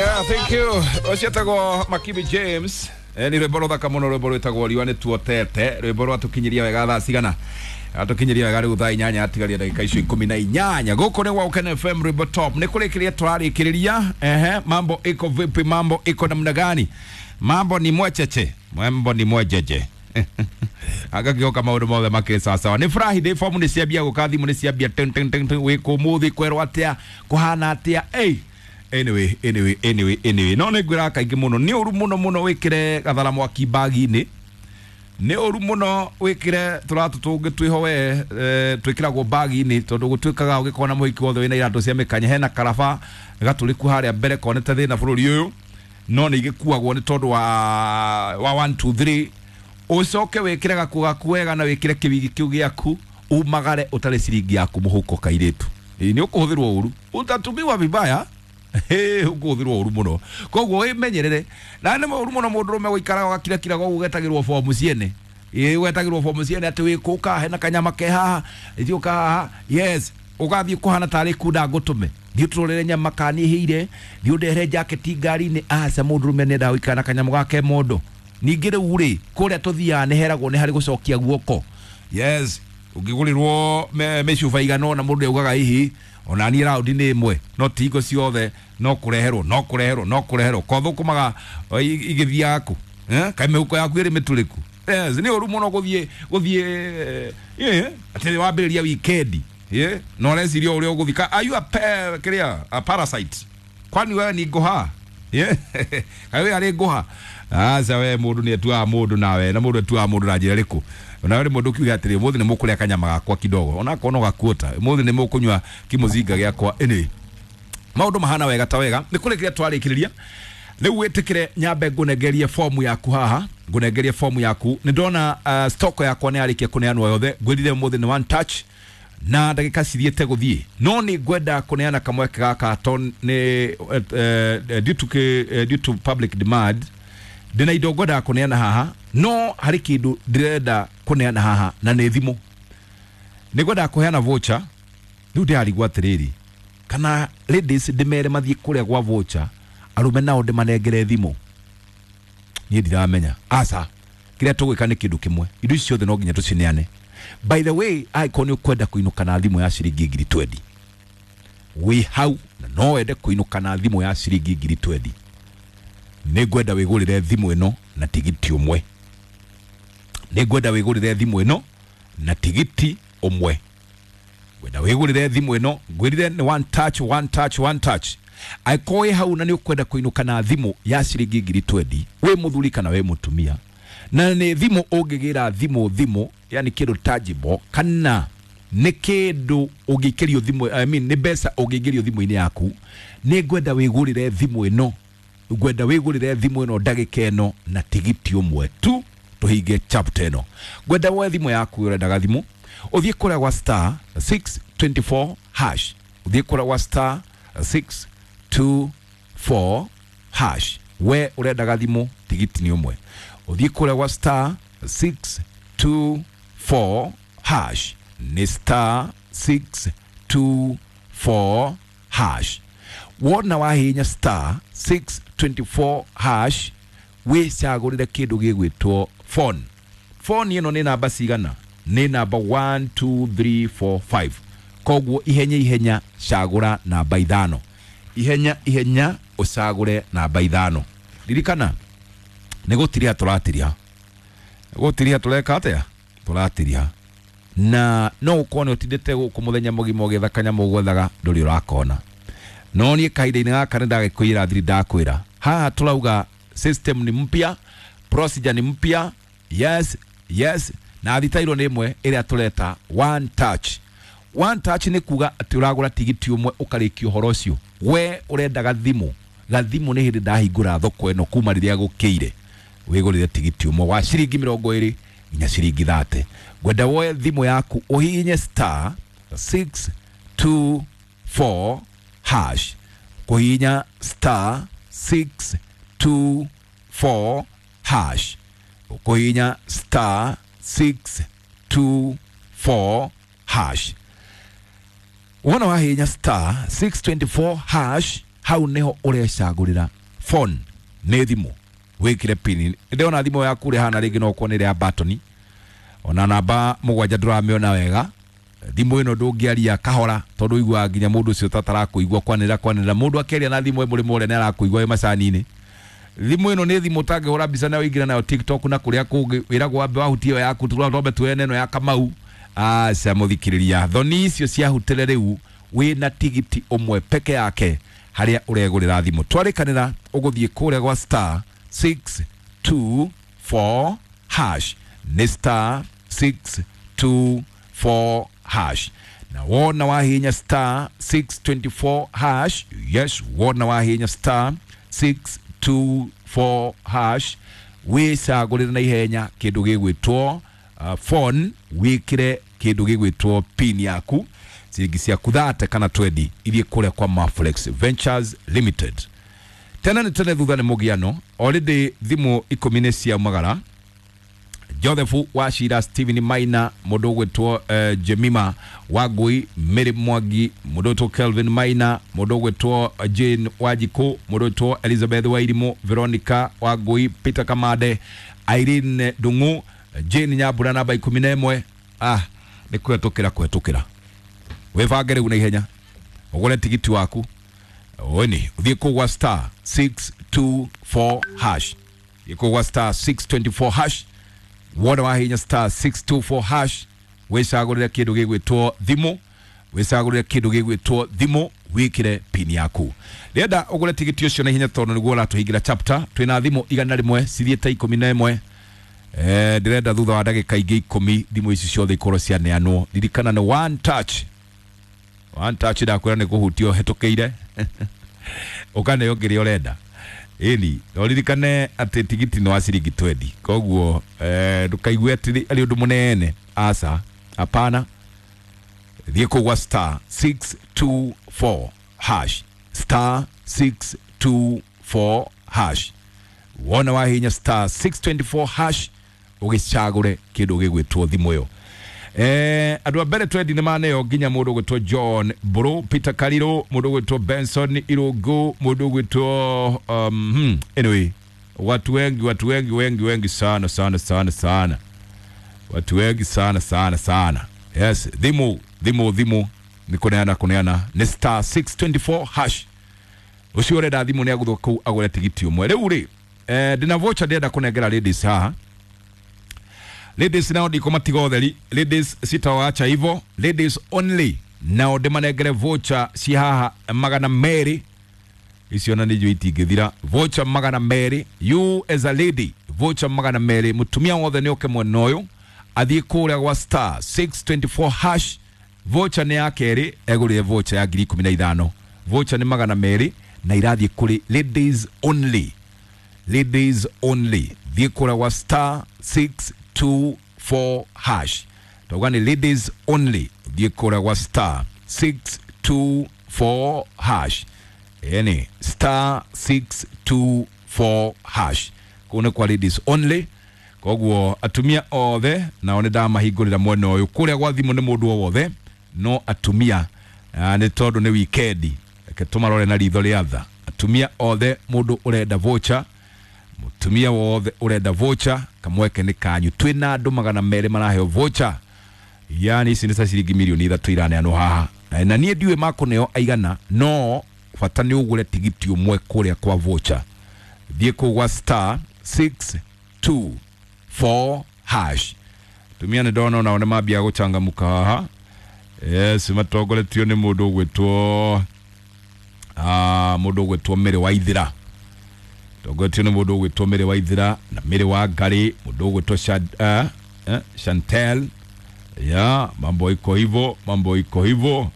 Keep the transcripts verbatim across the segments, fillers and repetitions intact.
Yeah, thank you. Ũcio Makibi James. Eh, nĩ rwĩmbo rũthaka mũno, rwĩmbo rwĩtagwo Riũa nĩ Tuotete. Rwĩmbo rwatũkinyiria wega thaa cigana? Atũkinyiria wega rĩu thaa inyanya atigaria ndagĩka icio ikũmi na inyanya. Gũkũ nĩ gwa Ũkene F M, rwĩmbo top. Nĩ kũrĩkĩrĩria tũrarĩkĩrĩria. Ehe, mambo iko vipi? Mambo iko namna gani? Mambo ni mwecheche, mambo ni mwejeje. Agagĩoka maũndũ mothe makĩrĩ sawasawa. Nĩ Friday, fomu nĩ ciambia gũka, thimũ nĩ ciambia ting ting ting ting. Wĩkũ mũthĩ kwerwo atĩa, kũhana atĩa? Ey, anyway, anyway, anyway, anyway, no nĩ ngwĩraga kaingĩ mũno, nĩ ũru mũno mũno wĩkĩre gathara mwaki bagi-inĩ. Nĩ ũru mũno wĩkĩre tũratũ tũngĩ twĩho we eh, twĩkĩragwo bagi-inĩ, tondũ gũtuĩkaga ũgĩkorwo na mũhiki wothe wĩna iratũ cia mĩkanya hena karaba gatũrĩku harĩa mbere konete thĩna bũrũri ũyũ, no nĩ igĩkuagwo nĩ tondũ wa wa one two three. Ũcoke wĩkĩre gakuo gaku wega na wĩkĩre kĩwigi kĩu gĩaku, umagare ũtarĩ ciringi yaku mũhuko. Kairĩtu, ĩ nĩ ũkũhũthĩrwo ũru, utatumiwa vibaya. Ũkũhũthĩrwo ũru mũno, koguo wĩmenyerere. Na nĩ ũru mũno mũndũrũme gũikaraga ũgakirakiraga ũguo, ũgetagĩrwo bomu ciene. Ĩ wetagĩrwo bomu ciene atĩ wĩkũka hena kanyama ke haha, thiũka haha. Yes, ũgathiĩ kũhana tarĩ kunda ngũtũme, thiĩ ũtũrorere nyama kana nĩ ĩhĩire, thiĩ ũndehere jaketi ngari-inĩ. Aca, mũndũrũme nĩendaga gũikara na kanyamũ gake mondo. Ningĩ rĩu rĩ, kũrĩa tũthiaga nĩ heragwo nĩ harĩ gũcokia guoko. Yes, ũngĩgũrĩrwo mĩcuba igana ũna, mũndũ augaga hihi ona niĩ raundi nĩ ĩmwe, no ti hingo ciothe, no kũreherwo, no kũreherwo, no kũreherwo kothũkũmaga igĩthiaga kũ? Eh, kaĩ mĩhuko yaku ĩrĩ mĩtũrĩku? Yes, nĩ ũru mũno gũthiĩ gũthiĩ eh, atĩ wambĩrĩria weekend eh, na ũreciria ũrĩa ũgũthiĩ. Ka- are you a pe, kĩrĩa, a parasite? Kwani wewe ni ngũha? Yeah. Kaĩ we arĩ ngũha? Aca, we mũndũ nĩ atuaga mũndũ nawe, na mũndũ atuaga mũndũ na njĩra ĩrĩkũ? Nawe rĩmwe ndũkiuge atĩrĩ, ũmũthĩ nĩ mũkũrĩa kanyama gakwa kidogo, onakorwo no gakuota, ũmũthĩ nĩ mũkũnyua kimũzinga gĩakwa. Anyway, maũndũ mahana wega ta wega. Nĩ kũrĩkĩria twarĩkĩrĩria rĩu. Wĩtĩkĩre nyambe ngũnengerie fomu yaku haha, ngũnengerie fomu yaku. Nĩ ndona uh, stock yakwa nĩ yarĩkia kũneanwo yothe. Ngwĩrire ũmũthĩ nĩ one touch na ndagĩka cithiĩte gũthiĩ, no nĩ ngwenda kũneana kamweke gaka to nĩ uh, due to, uh, due to public demand. Ndĩna indo ngwendaga kũneana haha, no harĩ kĩndũ ndĩrenda kũneana haha na nĩ thimũ. Nĩ ngwendaga kũheana voucher. Rĩu ndĩrarigwo atĩrĩrĩ, kana ladies ndĩmere mathiĩ kũrĩa gwa voucher, arũme nao ndĩmanengere thimũ? Niĩ ndiramenya. Aca, kĩrĩa tũgwĩka nĩ kĩndũ kĩmwe, indo ici ciothe no nginya tũcineane. By the way, angĩkorwo nĩ ũkwenda kũinũka na thimũ ya ciringi ngiri twendi, wĩ hau na no wende kũinũka na thimũ ya ciringi ngiri twendi, nĩ ngwenda wĩgũrĩre thimũ ĩno na tigiti ũmwe. Nĩ ngwenda wĩgũrĩre thimũ ĩno na tigiti ũmwe. Ngwenda wĩgũrĩre thimũ ĩno, ngwĩrire nĩ one touch, one touch, one touch. Angĩkorwo wĩ hau na nĩ ũkwenda kũinũka na thimũ ya ciringi ngiri twendi, wĩ mũthuri kana wĩ mũtumia, na nĩ thimũ ũngĩgĩra thimũ, thimũ yani kĩndũ tangible, kana nĩ kĩndũ ũngĩikĩrio thimũ, I mean, nĩ mbeca ũngĩingĩrio thimũ-inĩ yaku, nĩ ngwenda wĩgũrĩre thimũ ĩno, ngwenda wĩgũrĩre thimũ ĩno ndagĩka ĩno na tigiti ũmwe tu, tũhinge chapter ĩno. Ngwenda woe thimũ yaku, ũrendaga thimũ, ũthiĩ kũrĩa gwa star six two four hash, ũthiĩ kũrĩa gwa star six two four hash. We ũrendaga thimũ, tigiti nĩ ũmwe, ũthiĩ kũrĩa gwa star six two four hash, nĩ star six two four hash. Wona wahihinya star six two four hash, wĩcagũrĩre kĩndũ gĩgwĩtwo phone. Phone ĩno nĩ namba cigana? Nĩ namba one two three four five. Koguo ihenya ihenya cagũra namba ithano, ihenya ihenya ũcagũre namba ithano. Ririkana nĩ gũtiriha tũratiriha, gũtiriha tũreka atĩa? Tũratiriha. Na no ũkorwo nĩ ũtindĩte gũkũ mũthenya mũgima ũgĩetha kanyamũ gwethaga, ndũrĩ ũrakona. No niĩ kahinda-inĩ gaka nĩ ndagĩkwĩra thiri, ndakwĩra haha tũrauga system ni mpya, procedure ni mpya. Yes, yes, na thitairwo nĩ ĩmwe ĩrĩa tũreta one touch. One touch nĩ kuga atĩ ũragũra tigiti ũmwe ũkarĩkia ũhoro ũcio. We ũrendaga thimũ, gathimũ nĩ hĩndĩ ndahingũra thoko ĩno kuma rĩrĩa gũkĩire. Wĩgũrĩre tigiti ũmwe wa ciringi mĩrongo ĩrĩ nginya ciringi thate. Ngwenda woe thimũ yaku ũhihinye star six two four hash, kũhihinya star six two four hash, ũkũhihinya star six two four hash. Wona wahihinya star six two four hash, Hau niho urecagurira phone nĩ thimũ wĩkĩre pin. Ndĩrona thimũ yaku rĩhana rĩngĩ no ũkorwo nĩ ĩrĩa ya batoni, ona namba mũgwanja ndũramĩona wega. Thimũ ĩno ndũngĩaria kahora tondũ ũiguaga nginya mũndũ ũcio tatarakũigua kwanĩrĩra kwanĩrĩra. Mũndũ akĩaria na thimũ ĩ mũrĩmo ũrĩa nĩ arakũigua wĩ macani-inĩ. Thimũ ĩno nĩ thimũ ũtangĩhũra mbica nayo ũingĩre nayo TikTok na kũrĩa kũngĩ, wĩragwo wambe wahutie ĩyo yaku twambe tuone ĩno ya Kamau. Aca mũthikĩrĩria, thoni icio ciahutĩre rĩu wĩna tigiti ũmwe peke yake harĩa ũregũrĩra thimũ. Twarĩkanĩra ũgũthiĩ kũrĩa gwa star six two four hash, nĩ star six two four hash, na wona wahinya star six twenty four hash, yes, wona wahinya star six two four hash, wĩcagũrĩre na ihenya kĩndũ gĩgwĩtwo uh, phone, wĩkĩre kĩndũ gĩgwĩtwo pin yaku, ciringi ciaku thate kana twendi irie kũrĩa kwa Maflex Ventures Limited. Tene nĩ tene, thutha nĩ mũgiano. Already thimũ ikũmi nĩ ciaumagara. Joseph Wachira, Steven Maina, mũndũ ũgwĩtwo uh, Jemima Wangui, Mary Mwangi, mũndũ ũgwĩtwo Kelvin Maina, mũndũ ũgwĩtwo Jane Wanjikũ, mũndũ ũgwĩtwo Elizabeth Wairimu, Veronica Wangui, Peter Kamande, Irene Ndung'u, Jane Nyambura namba ikũmi na ĩmwe. Ah, nĩ kũhetũkĩra kũhetũkĩra. Wĩbange rĩu na ihenya ũgũre tigiti waku weni ũthiĩ kũu gwa star six two four hash, thiĩ kũu gwa star six twenty four hash. Wona wahinya star six two four hash, wĩcagũrĩre kĩndũ gĩgwĩtwo thimũ, wĩcagũrĩre kĩndũ gĩgwĩtwo thimũ, wĩkĩre pin yaku. Ndĩrenda ũgũre tigiti ũcio na ihenya tondũ nĩguo ũratũhingĩra chapter. Twĩna thimũ igana rĩmwe cithiĩte ikũmi na ĩmwe. Eh, ndĩrenda thutha wa ndagĩka ingĩ ikũmi thimũ ici ciothe ikorwo cianeanwo. Ririkana nĩ one touch, one touch, ndakwĩra nĩ kũhutia ũhetũkĩire ũkaneo kĩrĩa ũrenda. Ĩni no ririkane atĩ tigiti nĩ wa ciringi twendi, koguo eh, ndũkaigue atĩ arĩ ũndũ mũnene. Aca, hapana. Thiĩ kũu gwa star six two four hash, star six two four hash. Wona wahinya star six twenty four hash, ũgĩcagũre kĩndũ gĩgwĩtwo thimũ ĩyo. Eh, andũ a mbere twendi nĩ maneo nginya mũndũ ũgwĩtwo John Bro, Peter Kariro, mũndũ ũgwĩtwo Benson Irungu, mũndũ ũgwĩtwo um, hmm, anyway, watu wengi, watu wengi wengi wengi sana sana sana sana, watu wengi sana sana sana. Yes, thimũ thimũ thimũ nĩ kũneana kũneana nĩ star six twenty four hash. Ũcio ũrenda thimũ nĩ agũthwo kũu agũre tigiti ũmwe. Rĩu rĩ, eh, ndĩna voucher ndĩrenda kũnengera ladies haha. Ladies nao ndikumatiga ũtheri, ladies sitawacha hivyo, ladies only nao ndĩmanengere voucher ci haha magana merĩ. Icio na nĩnjũĩ itingĩthira. Voucher magana merĩ, you as a lady, voucher magana merĩ. Mũtumia wothe nĩ oke mwena ũyũ athiĩ kũrĩa gwa star six twenty four hash. Voucher nĩ ya kerĩ, egũrĩre voucher ya ngiri ikũmi na ithano. Voucher nĩ magana merĩ na irathiĩ kũrĩ ladies only, ladies only. Thiĩ kũrĩa gwa star six two four hash, tauga nĩ ladies only. Thiĩ kũrĩa gwa star six two four hash, yani star six two four hash, kũu nĩ kwa ladies only. Koguo atumia othe nao nĩ ndamahingũrĩra mwena ũyũ. Kũrĩa gwa thimũ nĩ mũndũ o wothe, no atumia nĩ tondũ nĩ wikendi, reke tũmarore na ritho rĩa tha. Atumia othe, mũndũ ũrenda voucher, mũtumia wothe ũrenda voucher, kamweke nĩ kanyu. Twĩna andũ magana merĩ maraheo voucher, yani ici nĩ ta ciringi mirioni ithatũ iraneanwo haha, na niĩ ndiũĩ makũneo aigana, no bata nĩ ũgũre tigiti ũmwe kũrĩa kwa voucher. Thiĩ kũu gwa star six two four hash. Tumia nĩ ndona onao nĩ mambia gũcangamũka haha. Yes, matongoretio nĩ mũndũ ũgwĩtwo ah, mũndũ ũgwĩtwo Mary Waithira, tongoretio nĩ mũndũ ũgwĩtwo Mary Waithira na Mary wa Ngari, mũndũ ũgwĩtwo Shad, uh, eh, Chantel. Ya, mambo iko hivyo, mambo iko hivyo.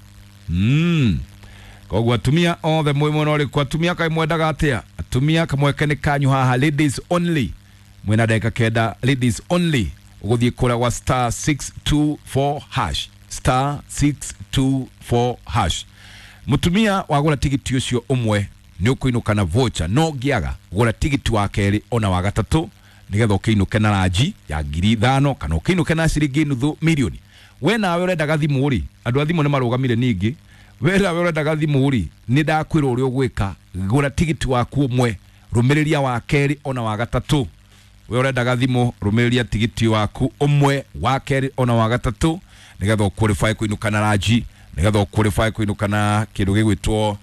Mm. Koguo atumia othe mwĩ mwena ũrĩkũ? Atumia kaĩ mwendaga atĩa? Atumia kamweke nĩ kanyu haha, ladies only. Mwĩna ndagĩka kenda, ladies only. Ũgũthiĩ kũrĩa gwa star six two four hash, star six two four hash. Mũtumia wagũra tigiti ũcio ũmwe nĩ ũkũinũka na voucher, no ngĩaga gũra tigiti wa kerĩ ona wa gatatũ nĩgetha ũkĩinũke na ranji ya ngiri ithano kana ũkĩinũke na ciringi nuthu milioni. We nawe ũrendaga thimũ rĩ, andũ a thimũ nĩ marũgamire ningĩ. Wera we ũrendaga thimũ rĩ, nĩ ndakwĩra ũrĩa ũgwĩka. Gũra tigiti waku ũmwe, rũmĩrĩria wa kerĩ ona wa gatatũ. We ũrendaga thimũ, rũmĩrĩria tigiti waku ũmwe, wa kerĩ ona wa gatatũ, nĩgetha ũqualify kũinũka na ranji, nĩgetha ũqualify kũinũka na kĩndũ gĩgwĩtwo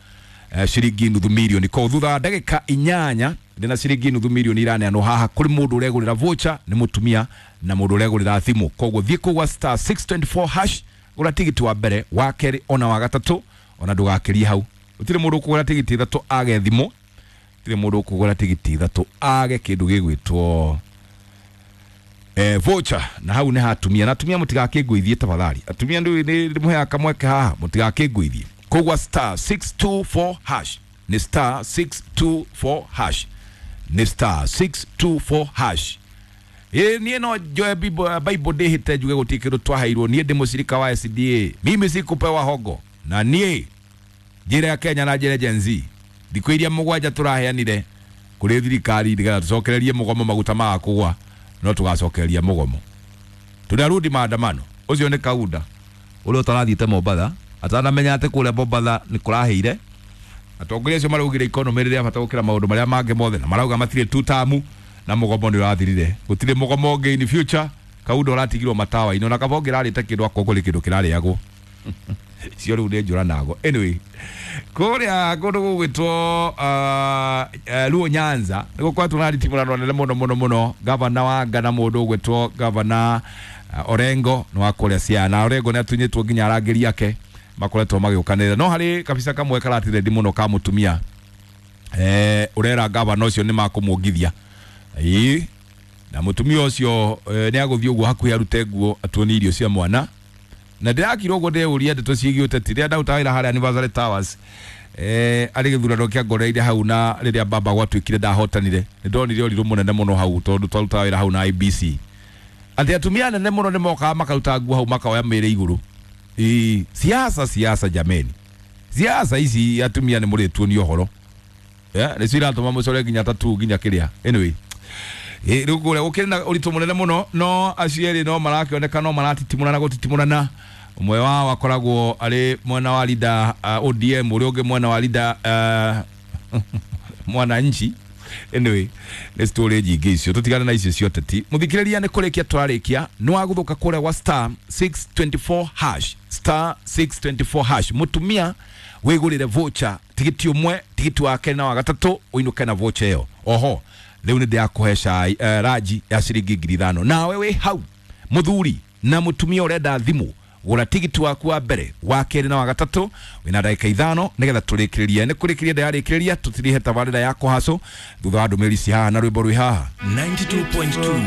eh, ciringi nuthu mirioni. Koguo thutha wa ndagĩka inyanya ndĩna ciringi nuthu mirioni iraneanwo haha kũrĩ mũndũ ũregũrĩra voucher nĩ mũtumia na mũndũ ũregũrĩra thimũ. Koguo thiĩ kũu gwa star six twenty four hash, gũra tigiti wa mbere, wa kerĩ ona wa gatatũ, ona ndũgakĩrie hau. Gũtirĩ mũndũ ũkũgũra tigiti ithatũ age thimũ, gũtirĩ mũndũ ũkũgũra tigiti ithatũ age kĩndũ gĩgwĩtwo eh, voucher. Na hau nĩ ha atumia, na atumia mũtigakĩngũithie tafadhali. Atumia nĩ ndĩmũheaga kamweke haha, mũtigakĩngũithie. Koguo star six two four hash nĩ star six two four hash nĩ star six two four hash. Ĩ niĩ no njoe Bible Bible ndĩhĩte njuge gũtirĩ kĩndũ twaheirwo. Niĩ ndĩ mũcirika wa S D A, mimi sikupewa hongo. Na niĩ njĩra ya Kenya na njĩra Gen Z, thikũ iria mũgwanja tũraheanire kũrĩ thirikari nĩgetha tũcokererie mũgomo maguta maga kũgwa, no tũgacokereria mũgomo. Tunarudi maandamano. Ũcio nĩ Kaunda ũrĩa ũtarathiĩte Mombatha, atanamenya atĩ kũrĩa Mombatha nĩ kũrahĩire. Atongoria acio maraugire economy rĩrĩa bata gũkĩra maũndũ marĩa mangĩ mothe, na marauga matirĩ two term na mũgomo nĩ ũrathirire. Gũtirĩ mũgomo ũngĩ in future. Kaunda ũratigirwo matawa-inĩ, ona kaba ũngĩrarĩte kĩndũ akorwo kũrĩ kĩndũ kĩrarĩagwo. Cio rĩu nĩ njũra nago. Anyway, kũrĩa kũndũ gũgwĩtwo, uh, uh, Luo Nyanza nĩ gũkoretwo na nditimũrano nene mũno mũno mũno. Gavana wa Ngana mũndũ ũgwĩtwo Gavana, uh, Orengo nĩ wa kũrĩa Siaya, na Orengo nĩ atunyĩtwo nginya arangĩri ake makoretwo magĩũkanĩrĩra. No harĩ kabisa kamwe karatirendi mũno ka mũtumia, eh, ũrera gavana ũcio nĩ makũmuongithia. Ĩĩ, na mũtumia ũcio, eh, nĩ agũthiĩ ũguo hakuhĩ arute nguo atuonie irio cia mwana. Na ndĩrakira ũguo ndĩũria ndeto ciĩgiĩ ũteti rĩrĩa ndarutaga wĩra harĩa Anniversary Towers, eh, arĩ gĩthurano kĩa ngoreire hau, na rĩrĩa baba gwatuĩkire ndahotanire, nĩ ndonire ũrirũ mũnene mũno hau tondũ twarutaga wĩra hau na I B C. Atĩ atumia anene mũno nĩ mokaga makaruta nguo hau makoya mĩĩrĩ igũrũ. Ĩĩ, siasa, siasa jameni, siasa ici atumia nĩ mũrĩtuonia ũhoro. Yeah, nĩcio iratũma mũcore nginya tatu nginya kĩrĩa. Anyway, ĩ, rĩu kũrĩa gũkĩrĩ na ũritũ mũnene mũno, no acio erĩ no marakĩoneka no maratitimũrana gũtitimũrana. Ũmwe wao akoragwo arĩ mwena wa leader, uh, O D M, ũrĩa ũngĩ mwena wa leader, uh, Mwananchi. Anyway, nĩ story nyingĩ icio, tũtigane na icio cia ũteti. Mũthikĩrĩria, nĩ kũrĩkia tũrarĩkia, nĩ wagũthũka kũrĩa gwa star six twenty four hash, star six twenty four hash. Mũtumia wĩgũrĩre voucher tigiti ũmwe, tigiti wa kerĩ na wa gatatũ, ũinũke na voucher ĩyo. Oho rĩu nĩ ndĩrakũhe cai, eh, ranji ya ciringi ngiri ithano. Nawe wĩ hau mũthuri na mũtumia ũrenda thimũ, gũra tigiti waku wa mbere, wa kerĩ na wa gatatũ, wĩna ndagĩka ithano nĩgetha tũrĩkĩrĩrie. Nĩ kũrĩkĩrĩria ndĩrarĩkĩrĩria, tũtirihe tabarĩra ya kũhacũ thutha wa ndũmĩrĩri ci haha na rwĩmbo rwĩ haha. ninety-two point two.